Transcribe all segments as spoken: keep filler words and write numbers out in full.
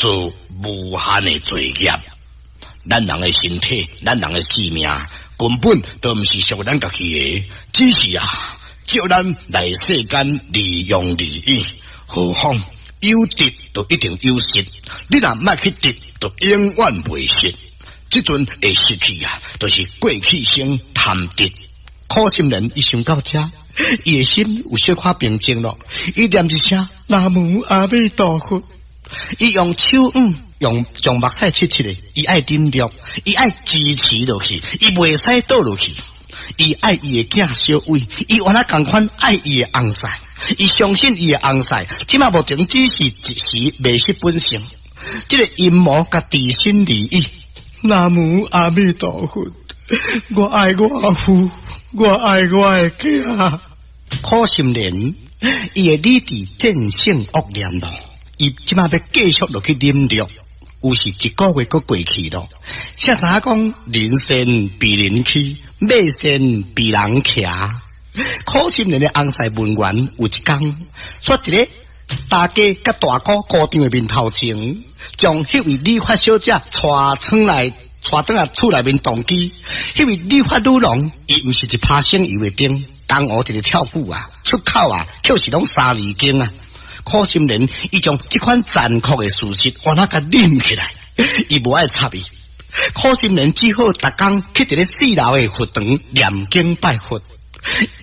做無限的罪業。咱人的身體，咱人的性命，根本都毋是屬咱家己的，只是啊，借咱來世間利用而已。何況有得就一定有失，你若莫去得，就永遠袂失。這陣會失去啊，就是過去生貪得。苦心蓮伊想到這，伊的心有小可平靜咯。伊念一聲南無阿彌陀佛，伊用手腕用將目屎拭拭的，伊愛忍辱，伊愛支持落去，伊袂使倒落去。伊愛伊的囝小偉，伊原來仝款愛伊的翁婿，伊相信伊的翁婿，這馬目前只是一時迷失本性，這个陰謀共置身而已。南無阿彌陀佛，我愛我阿父，我愛我的囝。苦心蓮，伊的理智戰勝惡念咯，伊這馬欲繼續落去忍辱，有時一個月閣過去咯。誰知影講人善被人欺，馬善被人騎。苦心蓮的翁婿文員有一工，煞佇咧大家佮大姑姑丈的面頭前，將彼位理髮小姐帶出來，帶轉來厝內面動機。彼位理髮女郎，伊毋是一拍省油的燈，江湖一个跳舞啊，出口啊，卻是攏三字經啊。苦心蓮，伊將這款殘酷的事實，原來共忍起來，伊無愛插伊。苦心蓮只好逐工去佇咧四樓的佛堂念經拜佛，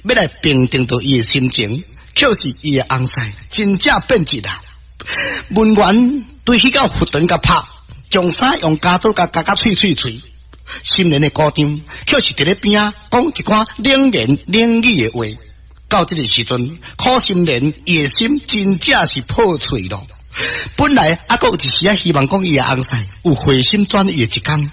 欲來平定著伊的心情。卻是伊的翁婿真正變質啦！文員對去到佛堂共拍，將衫用鉸刀共鉸甲碎碎碎。心蓮的姑丈卻是佇咧邊仔講一寡冷言冷語的話。到這个時陣，苦心蓮伊的心真正是破碎咯。本來猶閣有一絲仔希望，講伊的翁婿有回心轉意的一工，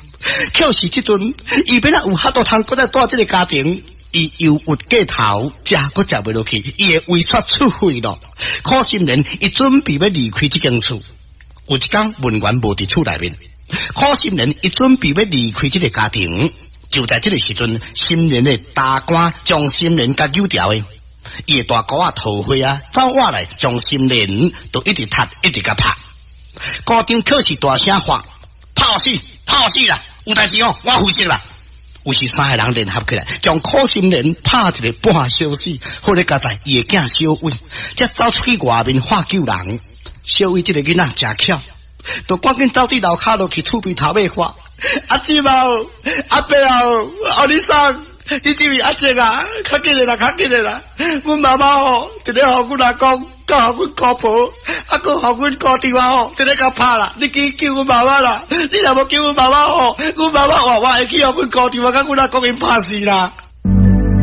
卻是這陣伊欲怎有法度通閣再蹛這个家庭？伊憂鬱過頭，食閣食袂落去，伊的胃煞出血咯。苦心蓮伊準備欲離開這間厝，有一工文員無佇厝內面，苦心蓮伊準備欲離開這个家庭，就在這个時陣，心蓮的大官將心蓮共揪牢的，伊的大姑仔桃花啊，走倚來將心蓮都一直踢，一直共拍。姑丈卻是大聲喊：拍死，拍死啦！有代誌哦，我負責啦！有時三个人聯合起來，將苦心蓮拍一个半小死，好佳哉伊的囝小偉，才走出去外面喊救人。小偉這个囡仔誠巧，就趕緊走佇樓跤落去厝邊頭尾喊：阿姊啊，阿伯啊，お兄さん，你這位阿叔啊，較緊的啦，較緊的啦！阮媽媽吼，佇咧予阮阿公，佮予阮姑婆，啊，閣予阮姑丈啊吼，佇咧共拍啦！你去救阮媽媽啦！你若無救阮媽媽吼，阮媽媽活活會去予阮姑丈啊，佮阮阿公𪜶拍死啦！